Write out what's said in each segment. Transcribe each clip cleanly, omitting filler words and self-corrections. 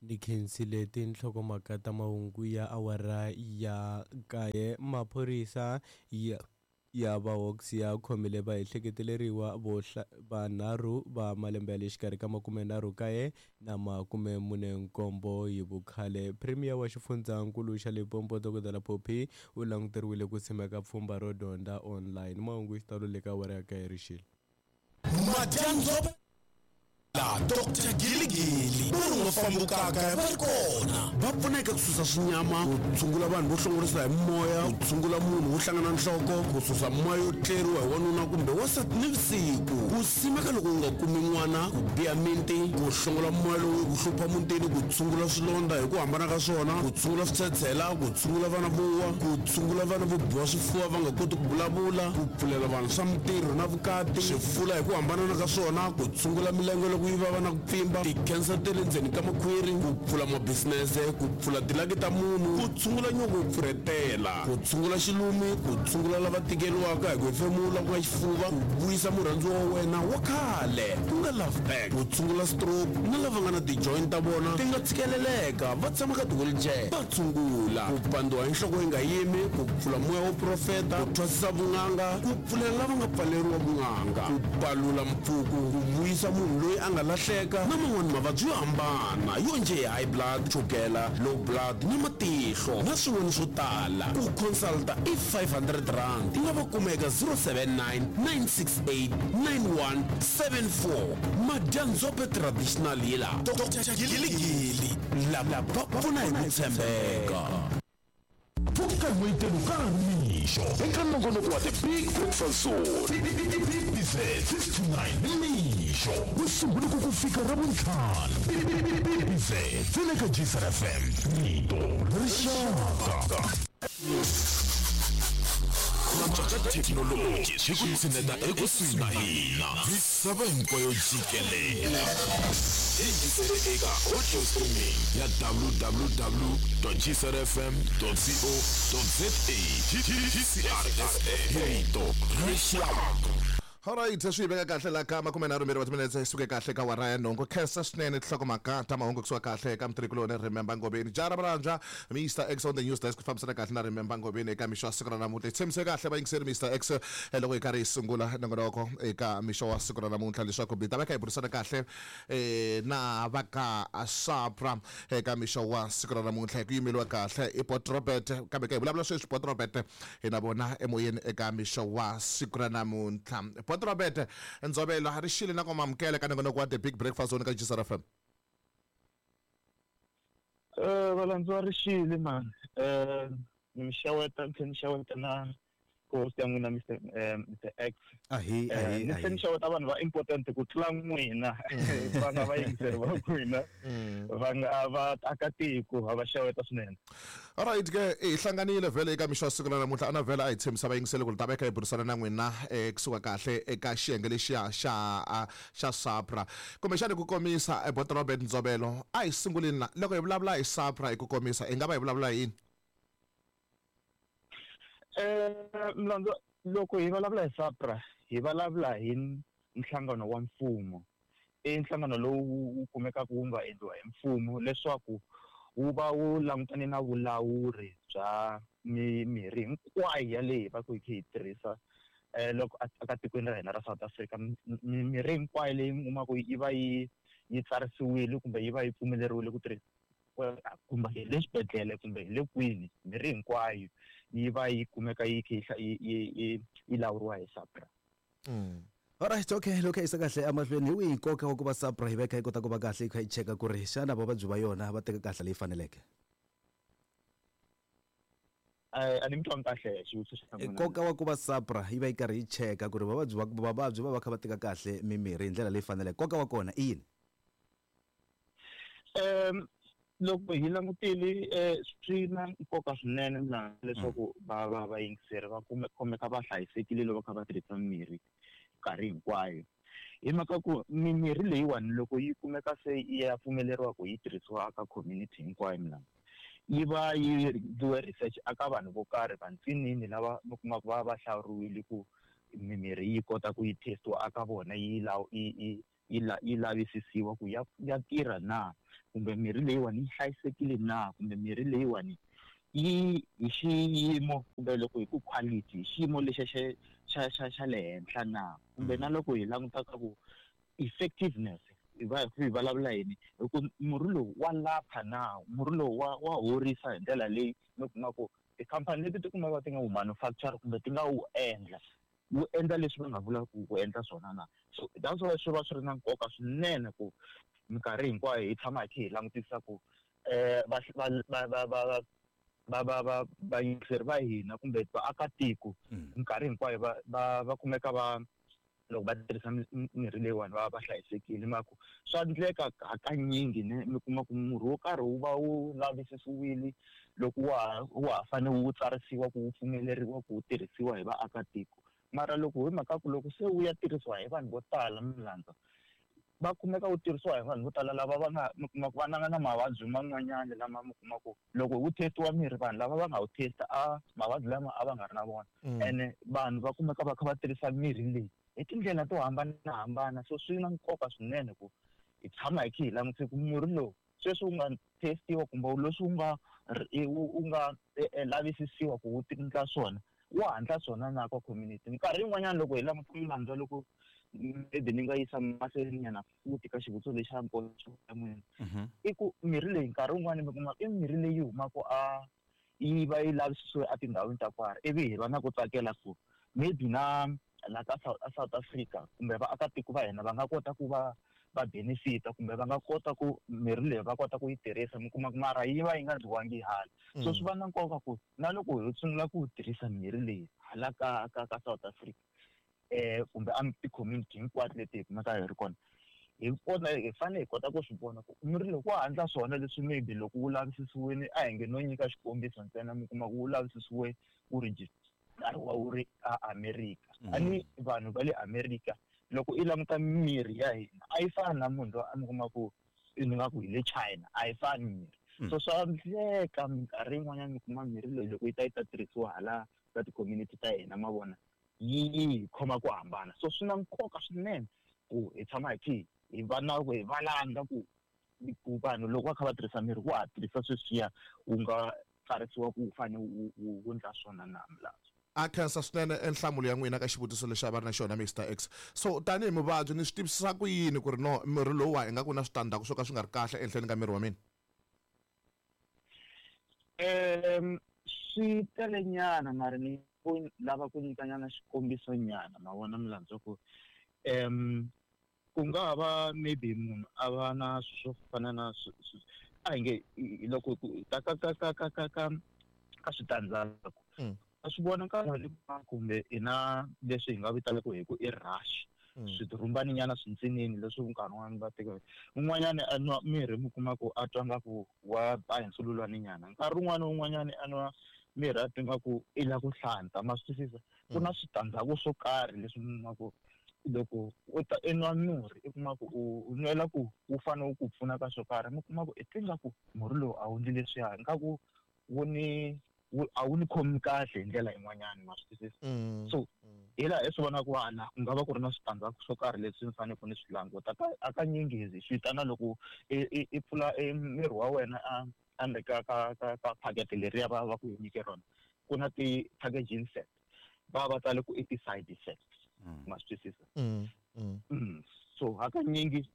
Ni khensile tinhlokomhaka ta mahungu ya awara ya kaye. Maphorisa ya ya va Hawks ya khomile vaehleketeleriwa vo vanharhu va malembe ya le xikarhi ka 39 na 47 hi vukhale. Premier wa xifundzankulu xa Limpopo Dokodela Phophi u languteriwile ku simeka pfhumba ro dyondza online. Mahungu hi xitalo le ka awara ya kaye rixile. Madyandzova Dr Giligili vo ri nga fambukaka va ri kona va pfuna eka ku susa swinyama, ku tshungula vanhu vo hlongorisa hi moya, ku tshungula munhu wo hlangana nhloko, ku susa moya yo tleriwa hi wanuna kumbe wansati nivusiku, ku simeka loko u nga kumi n'wana, ku biha miti, ku hlongola moya lowu ku hlupha mutini, ku tshungula swilondza hi ku hambana ka swona, ku tshungula switshetshela, ku tshungula vana vo wa, ku tshungula vana vo biwa swifuva va nga koti ku vulavula, ku pfulela vanhu swa mintirho na vukati, swifula hi ku hambanana ka swona, ku tshungula milenge loko yi vava na ku pfimba, tikhensa ta le ndzeni ka makhwiri, ku pfula mabisinese, ku pfula tilaki ta munhu, ku tshungula nyoko yo pfurhetela, ku tshungula xilumi, ku tshungula lava tikeriwaka hi ku hefemula ku nga xifuva, ku vuyisa murhandziwa wa wena wa khale ku nga love back, ku tshungula stroke na lava nga na ti-joint ta vona ti nga tshikeleleka va tshama ka ti-wheelchair, va tshungula ku pandziwa hi nhloko yi nga yimi, ku pfula moya wo profeta, ku thwasisa vun'anga, ku pfulela lava nga pfaleriwa vun'anga, ku palula mpfuku, ku vuyisa munhu loyi a nga lahleka na man'wana mavabyi yo hambana yo njhe hi high blood, chukela, low blood na matihlo na swin'wana swo tala. Ku consulta i R500. U nga va kuma eka 079 968 9174. Madyandzhope Traditional Healer, Doctor Giligili, lava va pfuna hi ku tshembeka. Pfuka n'wayitelo ka ha ri mixo eka nongonoko wa The Big Breakfast Zone, BBZ 6 to 9 nimixo, Musumbhunuku ku fika Ravuntlhanu. BBZ ntsena eka Gcr FM, rito ra rixaka. Ku antswa ka thekinoloji swi ku tshineta ekusuhi na hina misava hinkwayo jikelele. Yingisele eka audio streaming ya www.gcrfm.co.za. GCR FM, rito ra rixaka. Alright, swi yi veka kahle la ka 32 wa timinetse yi suke kahle ka wara ya nhungu. Khensa swinene tinhlokomhaka ta mahungu kusuka kahle eka mutirhikuloni Remember Ngobeni. Jara Mranja, Mr X on the news desk ku fambisana kahle na Remember Ngobeni eka mixo wa siku ra namuntlha. Hi tshembise kahle vayingiseri Mr X eh, loko hi karhi hi sungula nongonoko eka mixo wa siku ra namuntlha leswaku hi ta va kha hi burisana kahle eh, na va ka SAPRA eka mixo wa siku ra namuntlha hi ku yimeliwa kahle i Port Robert kambe ka hi vulavula sweswi Port Robert hi na vona emoyeni eka mixo wa siku ra namuntlha. Port Robert Ndzovelo ri xile na ku mamukela ka nongonoko wa The Big Breakfast Zone ka GCR FM. Valandziwa ri xile mani ni mi xeweta ni tlhela ni xeweta na host ya n'wina Mr Mr X. Ahi, Eh, ahi, ni tlhela ni ahi. xeweta vanhu va important ku tlula n'wina va nga vayingiseri va n'wina va nga va akatiko ha va xeweta swinene. Alright ke hi hlanganile vhele eka mixo wa siku ra namuntlha ana vhele a hi tshembisa vayingiseli ku ri ta va hi kha hi burisana na n'wina eh, kusuka kahle eka xiyenge lexiya xa ah, xa SAPRA kumbexani ku komisa eh, Bot Robert Ndzovelo a hi sunguleni la loko hi vulavula hi SAPRA hi ku komisa hi nga va hi vulavula hi yini Mlandzu loko hi vulavula hi SAPRA hi vulavula hi nhlangano wa mfumo i nhlangano lowu wu kumekaka wu nga endliwa hi mfumo leswaku wu va wu langutane na vulawuri bya mimirhi hinkwayo yaleyi hi va ku hi kha hi tirhisa loko aka tikweni ra hina ra South Africa. Mimirhi hinkwayo leyi mi kumaka yi va yi yi tsarisiwile kumbe yi va yi pfumeleriwile ku tirhisiwa kumbe hi le xibedhlele kumbe hi le kwini mirhi hinkwayo yi va yi kumeka yi kha yi yi yi yi lawuriwa hi SAPRA. Alright, okay, loko hi yisa kahle emahlweni hi wihi nkoka wa ku va SAPRA yi va yi kha yi kota ku va kahle yi kha yi cheka ku ri xana vavabyi va yona va teka kahle leyi faneleke? A ni mi twangi kahle xivutiso xa n'wina. Nkoka wa ku va SAPRA yi va yi karhi yi cheka ku ri vavabyi va vavabyi va va kha va teka kahle mimirhi hi ndlela leyi faneleke, nkoka wa kona i yini? Loko hi langutile swi na nkoka swinene laha leswaku va va vayingiseri va kume khomeka va hlayisekile loko va kha va tirhisa mimirhi nkarhi hinkwayo. Hi mhaka ku mimirhi leyiwani loko yi kumeka se yi ya pfumeleriwa ku yi tirhisiwa ka community hinkwayo milawu yi va yi endliwe research aka vanhu vo karhi vantsinini lava mi kumaka va va hlawuriwile ku mimirhi yi kota ku yi testiwa aka vona yi yi yi yi lavisisiwa ku ya ya tirha na. kumbe mirhi leyiwani yi hlayisekile na, kumbe mirhi leyiwani yi hi xiyimo kumbe loko hi ku quality hi xiyimo lexa xa le henhla na, kumbe na loko hi languta ka ku effectiveness hi va hi vulavula yini hi ku murhi lowu wa lapha na, murhi lowu wa horisa hi ndlela leyi mi kuma ku tikhampani leti ti kumaka ti nga wu manufacture kumbe ti nga wu endla wu endla leswi va nga vula ku endla swona na. So that's why swi va swi ri na nkoka swinene ku minkarhi hinkwayo hi tshama hi kha hi langutisa ku vayingiseri va hina kumbe vaakatiko minkarhi hinkwayo va kumeka va loko va tirhisa mirhi leyiwani va va hlayisekile. Mhaka swa endleka hakanyingi ne mi kuma ku murhi wo karhi wu va wu lavisisiwile loko wa ha fanele wu tsarisiwa ku wu pfumeleriwa ku wu tirhisiwa hi vaakatiko, mara loko hi mhaka ku loko se wu ya tirhisiwa hi vanhu vo tala milandza va kumeka wu tirhisiwa hi vanhu vo tala lava va nga mi kuma ku va nga na mavabyi man'wanyana lama mi kuma ku loko wu testiwa mirhi vanhu lava va nga wu testa a mavabyi lama a va nga ri na vona, ene vanhu va kumeka va kha va tirhisa mirhi leyi hi tindlela to hambanahambana. So swi na nkoka swinene ku hi tshama hi kha hi langutise ku murhi lowu sweswi wu nga testiwa kumbe leswi wu nga lavisisiwa ku wu endla swona wa handla swona na ka community. Minkarhi yin'wanyana loko hi languta milandza loko maybe ni nga yisa mahlweni nyana futhi ka xivutiso lexi xa nkoka ya n'wina, i ku mirhi leyi nkarhi wun'wani mi kuma i mirhi leyi humaka a yi va yi lavisisiwe etindhawini ta karhi, ivi hi va na ku tsakela ku maybe na la ka South Africa kumbe vaakatiko va hina va nga kota ku va va benefita kumbe va nga kota ku mirhi leyi va kota ku yi tirhisa, mi kuma ku mara yi va yi nga dyiwangi hala. So swi va na nkoka ku na loko hi sungula ku tirhisa mirhi leyi hala ka South Africa kumbe a ti-community hinkwato leti hi kumeka hi ri kona, hi kona hi fanele hi kota ku swi vona ku mirhi loko wa handla swona leswi maybe loko wu lavisisiwile a hi nge no nyika xikombiso ntsena, mi kuma ku wu lavisisiwe wu register-iwa wu ri a America. A ni vanhu va le America loko i languta mirhi ya hina a yi fani na munhu loyi a mi kuma ku ni nga ku hi le China, a yi fani mirhi. So swa endleka minkarhi yin'wanyana mi kuma mirhi leyi loko yi ta yi ta tirhisiwa hala ka ti-community ta hina ma vona yi hi khoma ku hambana. So swi na nkoka swinene ku hi tshama hi kha hi va na ku hi valanga ku vanhu loko va kha va tirhisa mirhi wa ha tirhisa sweswiya wu nga tsarisiwa ku wu fanele wu endla swona na milandzu. A khensa swinene enhlamulo ya n'wina ka xivutiso lexi a va ri na xona Mr X. So tanihi muvabyi ni swi tivisisa ku yini ku ri no mirhi lowuwa ingaku na switandzhaku swo ka swi nga ri kahle ehenhleni ka miri wa mina? Swi tele nyana mara ni ku lava ku nyika nyana xikombiso nyana ma vona milandzu ku ku nga ha va maybe munhu a va na swo fana na a hi nge loko ka ka ka ka ka ka ka ka switandzhaku a swi vona nkarhi kumbe i na leswi hi nga vitanaka hi ku i rush, swirhumbani nyana swintsinini leswi nkarhi wun'wani va teka un'wanyana a nwa mirhi mi kuma ku a twa nga ku wa ba hi nsululwani nyana, nkarhi wun'wani un'wanyana a nwa mirhi a twa nga ku i la ku hlanta, ma swi twisisa. Ku na switandzhaku swo karhi leswi mi kuma ku loko u ta i nwa murhi i kuma ku u nwela ku wu fanele wu ku pfuna ka swo karhi, mi kuma ku i twi nga ku murhi lowu a wu ndli leswiya nga ku wu ni a wu ni khomi kahle hi ndlela yin'wanyana, ma swi twisisa. So hi laha i swi vonaka hala ku nga va ku ri na switandzhaku swo karhi leswi ni faneleke ni swi languta. Hakanyingi hi swi vitana loko i pfula miri wa wena a endzeni ka phakete leriya va ku nyike rona, ku na ti-packaging set va va tsale ku i ti-side effects, ma swi twisisa. So hakanyingi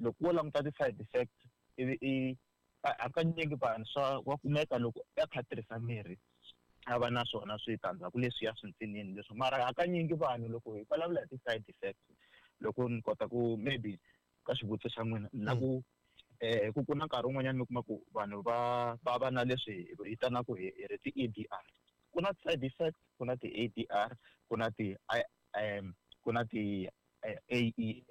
loko wo languta ti-side effects ivi i hakanyingi vanhu swa wa kumeka loko a kha a tirhisa mirhi a va na swona switandzhaku leswiya swintsinini leswi, mara hakanyingi vanhu loko hi vulavula hi ti-side effects loko ni kota ku maybe ka xivutiso xa n'wina na ku ku na nkarhi wun'wanyana mi kuma ku vanhu va na leswi hi vitanaka hi ri ti-ADR, ku na side effects, ku na ti-ADR, ku na ti ku na ti AESI.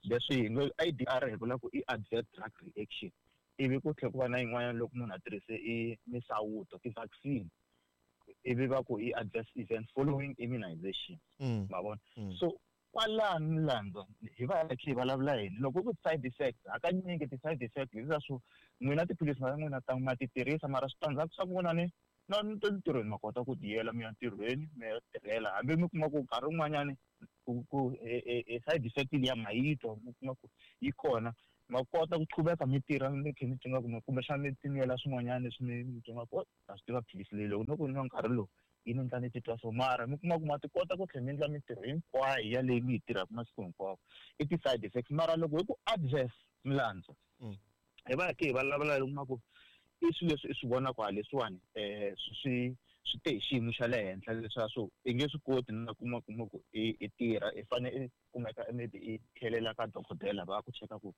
Leswi hi ngo ADR hi vula ku i adverse drug reaction, ivi ku tlhela ku va na yin'wanyana loko munhu a tirhise i misawuto ti-vaccine, ivi va ku i adverse event following immunization, ma vona. So kwalano milandzu hi va hi kha hi vulavula yini loko ku side effects? Hakanyingi ti-side effects hileswaku n'wina tiphilisi ta n'wina ta ma ti tirhisa, mara switandzhaku swa n'wina ni na ntirhweni ma kota ku tiyela mi ya ntirhweni mi ya tirhela, hambi mi kuma ku nkarhi wun'wanyani ku side effect liya ma yi twa, mi kuma ku yi kona. Ma kota ku qhubeka mi tirha mi kha mi twa nga kumbexana mi tinwela swin'wanyana leswi mi twa nga ku na swi tiva philisi leyi loko no ku nwa nkarhi lowu yi ni endla ni titwa so, mara mi kuma ku ma ti kota ku tlhela mi endla mintirho hinkwayo yaleyi mi yi tirhaka masiku hinkwawo. I ti-side effects. Mara loko hi ku adverse, milandzu, hi va hi kha hi vulavula loko kuma ku i swilo leswi i swi vonaka ha leswiwani, swi te hi xiyimo xa le henhla, leswiya swo i nge swi koti na kuma ku i tirha, i fane i kumeka maybe i tlhelela ka dokodela va ku cheka ku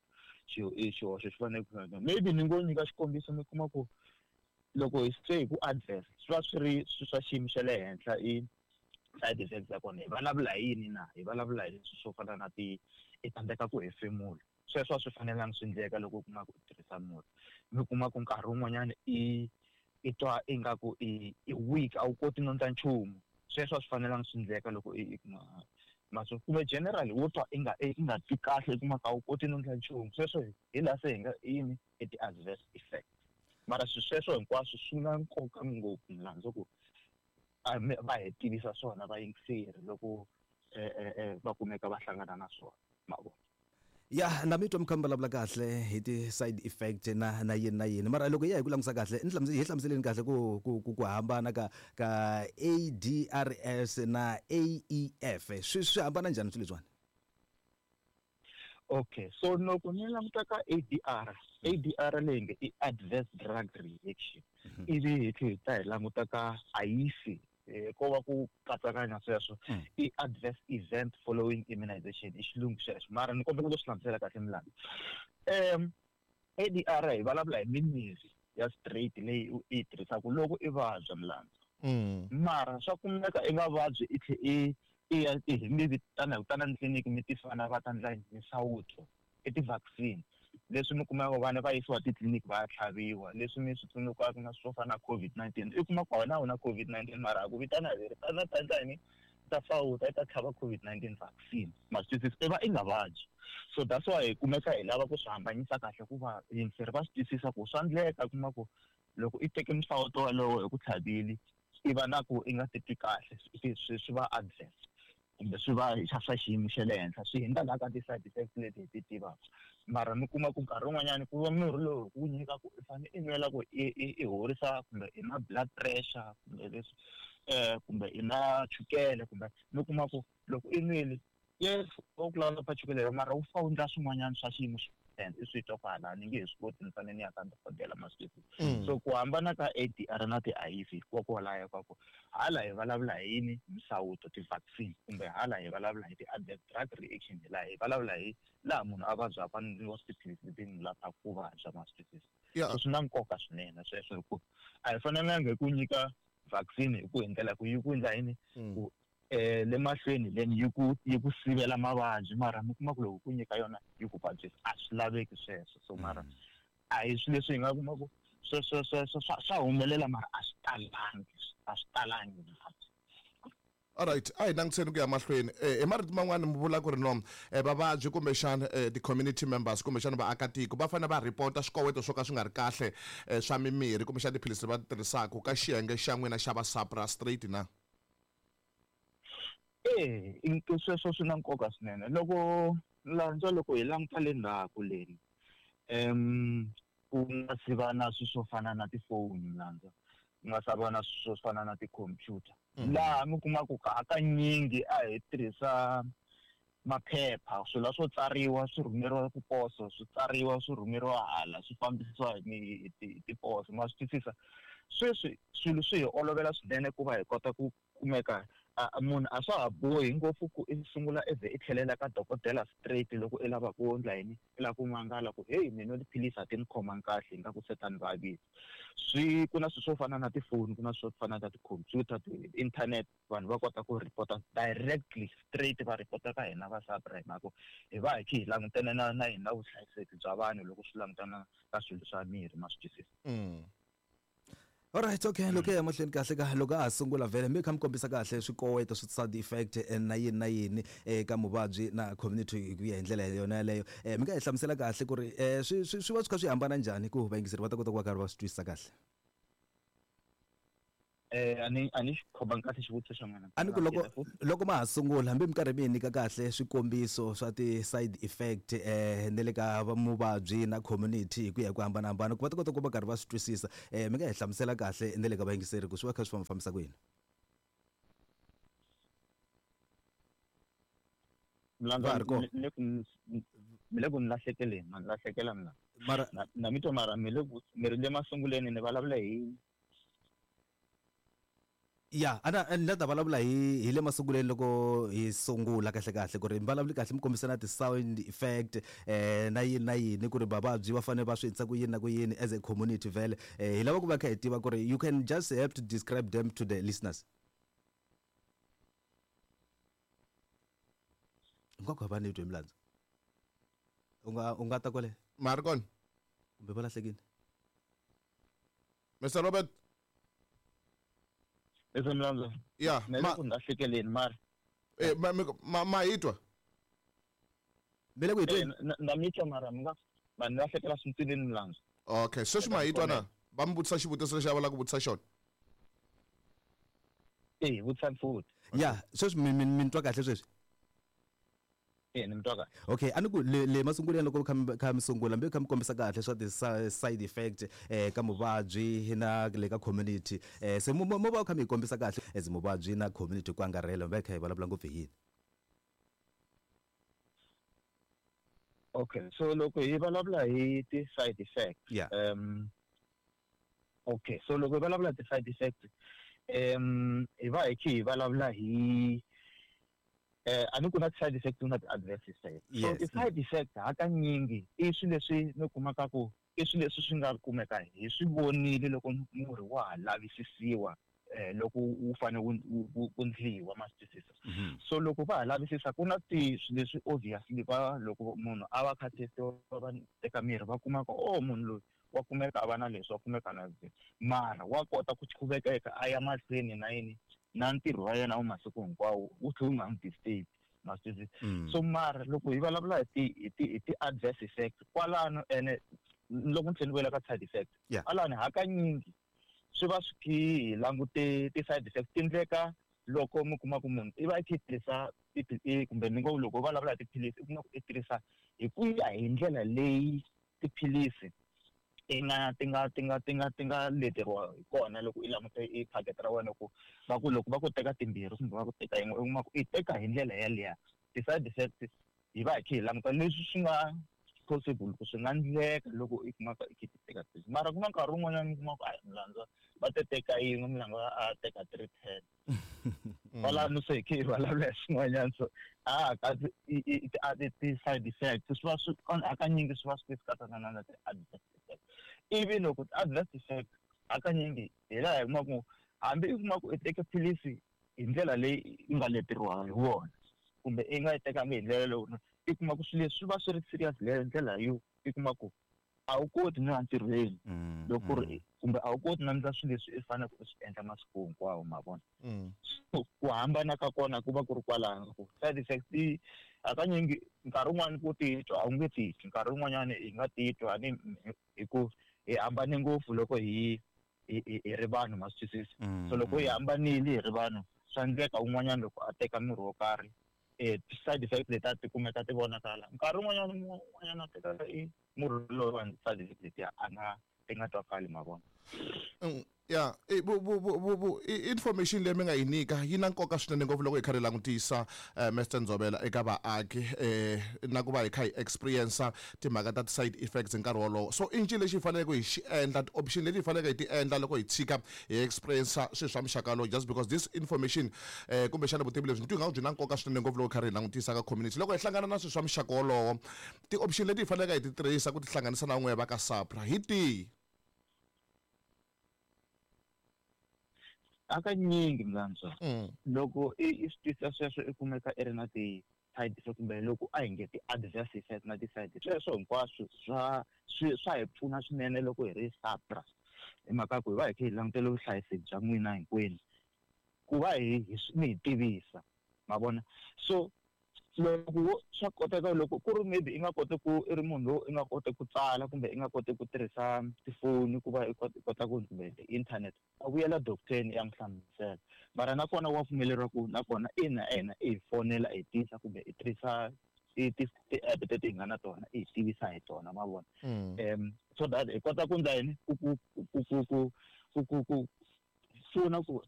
i xihoxo xi fanele ku maybe ni ngo nyika xikombiso. Mi kuma ku loko hi se hi ku adverse, swi va swi ri swi swa xiyimo xa le henhla. I side effects ta kona hi vulavula hi yini na? Hi vulavula hi leswi swo fana na ti i tsandzeka ku hefemula. Sweswo a swi fanelanga swi endleka loko u kuma ku u tirhisa murhi. Mi kuma ku nkarhi wun'wanyana i twa ingaku i weak, a wu koti no endla nchumu. Sweswo a swi fanelanga swi endleka loko i kuma maso, kumbe generally wo twa i nga twi kahle, i kuma ku a wu koti no endla nchumu. Sweswo hi laha se hi nga yini i ti-adverse effect. Mara swilo sweswo hinkwaswo swi na nkoka ngopfu, milandzu, ku va hi tivisa swona vayingiseri loko va kumeka va hlangana na swona, ma vona. Ya, na mi twa mi kha mi vulavula kahle hi ti-side effect na yini na yini, mara loko hi ya hi ku langutisa kahle, ni hi hlamuseleni kahle ku hambana ka ADRS na AEF, swi hambana njhani swilo leswiwani? Okay, so loko ni languta ka ADR, ADR leyi nge i adverse drug reaction, ivi hi tlhela hi ta hi languta ka AIFI, ko va ku katsakanya sweswo, i adverse event following immunization i xilungu xexo, mara ni kombela ku swi hlamusela kahle, milandzu. ADR hi vulavula hi mimirhi ya straight leyi u yi tirhisaka loko i vabya, milandzu. Mara swa kumeka i nga vabyi, i tlhe i ya i mi vitana hi ku tana tliliniki, mi tifana va ta endla misawuto, i ti-vaccine leswi mi kumaka vana va yisiwa titliliniki va ya tlhaviwa, leswi mi swi tsundzukaka na swo fana na COVID-19. I kuma ku wena a wu na COVID-19, mara a ku vitana hi ri tana ta endla yini, ta sawuta, i ta tlhava COVID-19 vaccine, ma swi twisisa, i va i nga vabyi. So that's why hi kumeka hi lava ku swi hambanyisa kahle ku va yingiseri va swi twisisa ku swa endleka kuma ku loko i teke misawuto walowo hi ku tlhavile, i va na ku i nga titwi kahle, swi va adverse kumbe swi va swa xiyimo xa le henhla, swi hundza laha ka ti-side effects leti hi ti tivaka. Mara mi kuma ku nkarhi wun'wanyani ku va murhi lowu wu nyika ku i fanele i nwela ku i horisa kumbe i na blood pressure kumbe leswi, kumbe i na chukele, kumbe mi kuma ku loko i nwile, yes, wa ku lawula pa chukele, mara wu fa wu endla swin'wanyana swa xiyimo xa henhla, i swi twa ku hala ni nge he swi koti, ni fanele ni ya ka dokodela, ma swi twisisa. So ku hambana ka ADR na ti-AIF kokwalaho ka ku hala hi vulavula hi yini? Misawuto, ti-vaccine, kumbe hala hi vulavula hi ti-adverse drug reaction, laha hi vulavula hi laha munhu a vabyaka a nyikiwa tiphilisi leti n'wi laphaka ku vabya, ma swi twisisa. So swi na nkoka swinene sweswo, hi ku a hi fanelanga hi ku nyika vaccine hi ku hi ndlela ku yi ku endla yini, ku le mahlweni then yi ku sivela mavabyi, mara mi kuma ku loko ku nyika yona yi ku vabyisa, a swi laveki sweswo. So mara a hi swilo leswi hi nga kuma ku sweswo sweswo swa humelela, mara a swi talangi, a swi talangi. Alright, a hi langutiseni ku ya mahlweni. Hi marito man'wani mi vula ku ri no vavabyi kumbexana ti-community members kumbexana vaakatiko va fanele va ripota swikoweto swo ka swi nga ri kahle swa mimirhi kumbexana tiphilisi va ti tirhisaka ka xiyenge xa n'wina xa va SAPRA straight na? E, sweswo swi na nkoka swinene. Loko landza, loko hi languta le ndzhaku leni, ku nga si va na swilo swo fana na tifoni, landza, ku nga sa va na swilo swo fana na tikhompyuta, laha mi kuma ku hakanyingi a hi tirhisa maphepha, swilo swo tsariwa swi rhumeriwa ku poso, swi tsariwa swi rhumeriwa hala, swi fambisiwa hi tiposo, ma swi twisisa. Sweswi swilo swi hi olovela swinene ku va hi kota ku kumeka munhu a swa ha bohi ngopfu ku i sungula i ze i tlhelela ka dokodela straight loko i lava ku endla yini, i lava ku mangala ku heyi, mina tiphilisi a ti ni khomangi kahle, ingaku se ta ni vavisa. Swi ku na swilo swo fana na tifoni, ku na swilo swo fana na tikhompyuta, ti-internet, vanhu va kota ku report directly straight, va report ka hina va SAPRA, hi mhaka ku hi va hi kha hi langutene na hina vuhlayiseki bya vanhu loko swi langutana ka swilo swa mirhi, ma swi twisisa. Alright, okay, loko ya mahlweni kahle ka loko a ha sungula vhele mi kha mi kombisa kahle swikoweto swi side effect na yini na yini eka muvabyi na community hi ku ya hi ndlela yona yaleyo. Mi nga hi hlamusela kahle ku ri swi va swi kha swi hambana njhani ku vayingiseri va ta kota ku va karhi va swi twisisa kahle? A ni xi khomangi kahle xivutiso xa n'wina. A ni ku loko ma ha sungula, hambi mi karhi mi hi nyika kahle swikombiso swa ti-side effect ne le ka muvabyi na community hi ku ya hi ku hambanahambana, ku va ta kota ku va karhi va swi twisisa, mi nga hi hlamusela kahle ne le ka vayingiseri ku swi va kha swi fambafambisa ku yini? Mlandza. Va ha ri kona? Mi le ku ni lahlekeleni, ma ni lahlekela mina. Mara Na mi twa, mara mi le ku mi ri le masunguleni ni vulavula hi Ya, ana ni la ta vulavula hi le masunguleni loko hi sungula kahle kahle ku ri mi vulavuli kahle, mi kombisa na ti-sound effect na yini na yini, ku ri vavabyi va fanele va swi endlisa ku yini na ku yini as a community. Vhele hi lava ku va kha hi tiva ku ri you can just help to describe them to the listeners. Hinkwako va ni twe milandzu, u nga ta kwale. Ma ri kona? Kumbe va lahlekile? Mr Robert. Leswi, Mlandza. Ya. Mi le ku ni lahlekeleni, mara Ma hi twa? Mi le ku hi tweni? Na mi twa, mara mi nga ma ni lahlekela swintswinini, Mlandza. Okay, sweswi ma hi twa na? Va mi vutisa xivutiso lexi a va lava ku vutisa xona. Eh, vutisani futhi. Ya, sweswi mi ni twa kahle sweswi? Eh, ni mi twa kahle. Okay, a ni ku le masunguleni loko kha mi sungula, mbe kha mi kombisa kahle swa ti-side effect ka muvabyi na le ka community, se mo va kha mi hi kombisa kahle as muvabyi na community ku angarhela, mi va hi kha hi vulavula ngopfu hi yini? Okay, so loko hi vulavula hi ti-side effect, okay, so loko hi vulavula ti-side effect, hi va hi kha hi vulavula hi a ni ku na ti-side effect na ti-adverse effect. So ti-side effect hakanyingi i swilo leswi mi kumaka ku i swilo leswi swi nga kumeka hi swi vonile loko murhi wa ha lavisisiwa, loko wu fanele wu ndliwa, ma swi twisisa? So loko va ha lavisisa, ku na ti swilo leswi obviously va loko munhu a va kha testiwa, va teka mirhi, va kuma ku oh, munhu loyi wa kumeka a va na leswi, wa kumeka na leswi, mara wa kota ku qhuvekeka a ya mahlweni na yini na ntirho wa yena wa masiku hinkwawo, wu tlhe wu nga n'wi disturb, ma swi twisisa? So mara loko hi vulavula hi ti-adverse effect kwalano, ene loko ni tlhela ni vuyela ka side effect, kwalano hakanyingi swi va swi khi hi langute ti-side effect ti ndleka loko mi kuma ku munhu i va i kha i tirhisa kumbe ni ngo loko u vulavula hi tiphilisi, i kuma ku i tirhisa hi ku ya hi ndlela leyi tiphilisi ti nga ti nga ti nga ti nga ti nga leteriwa hi kona. Loko i langute i phaketi ra wena, ku va ku loko va ku teka timbirhi kumbe va ku teka yin'we, u kuma ku i teka hi ndlela yaliya, ti-side effects hi va hi kha hi languta leswi swi nga possible ku swi nga ndleka loko i kumaka i kha i ti teka tiphilisi. Mara ku na nkarhi wun'wanyana u kuma ku a Mlandza va te teka yin'we, Mlandza a teka 310 kwalano, se hi kha hi vulavula hi swin'wanyana. So a kasi ti-side effects swi va swi hakanyingi swi va swi katsana na ti-adverse effect. Ivi loko ti-adverse effect hakanyingi hi laha hi kuma ku hambi i kuma ku i teke philisi hi ndlela leyi yi nga leteriwa hi wona kumbe i nga yi tekanga hi ndlela leyi, i kuma ku swilo leswi swi va swi ri serious leyo ndlela yo i kuma ku a wu koti no ya ntirhweni loko ku ri kumbe a wu koti no endla swilo leswi i faneleke u swi endla masiku hinkwawo, ma vona? So ku hambana ka kona ku va ku ri kwalano, ku side effects ti hakanyingi nkarhi wun'wani ku titwa a wu nge titwi, nkarhi wun'wanyani hi nga titwa ni hi ku hi hambane ngopfu loko hi ri vanhu, ma swi twisisa? So loko hi hambanile hi ri vanhu, swa endleka un'wanyana loko a teka mirhi wo karhi, side effect leti a ti kumeka ti vonakala. Nkarhi wun'wanyana un'wanyana a teka i murhi lowuwani, side effect letiya a nga ti nga twakali, ma vona? Ya, information leyi mi nga yi nyika yi na nkoka swinene ngopfu loko hi kha hi langutisa, Mr Ndzovela, eka vaaki na ku va hi kha hi experience timhaka ta ti-side effects hi nkarhi wolowo. So i ncini lexi hi faneleke hi xi endla, ti-option leti hi faneleke hi ti endla loko hi tshika hi experience swilo swa muxaka lowu? Just because this information, kumbexana vutivi lebyi ni twi nga byi na nkoka swinene ngopfu loko hi karhi hi langutisa ka community, loko hi hlangana na swilo swa muxaka wolowo, ti-option leti hi faneleke hi ti tirhisa ku tihlanganisa na n'we va ka SAPRA hi tihi? Hakanyingi, Mlandzwa, loko i swi twisisa sweswo, i kumeka i ri na ti-side effect kumbe loko a hi nge ti-adverse effect na ti-side, sweswo hinkwaswo swa hi pfuna swinene loko hi ri SAPRA, hi mhaka ku hi va hi kha hi langutele vuhlayiseki bya n'wina hinkwenu, ku va hi mi hi tivisa, ma vona? So Loko swa koteka, loko ku ri maybe i nga koti ku i ri munhu lowu i nga koti ku tsala kumbe i nga koti ku tirhisa tifoni ku va i kota ku kumbe ti-internet, a vuyela doctor-ni ya n'wi hlamusela. Mara nakona wa pfumeleriwa ku nakona ina ena i hi fonela i tisa kumbe i tirhisa ti-app teti hi nga na tona i hi tivisa hi tona, ma vona. So that hi kota ku ndla yini, ku ku ku ku ku ku ku ku pfuna ku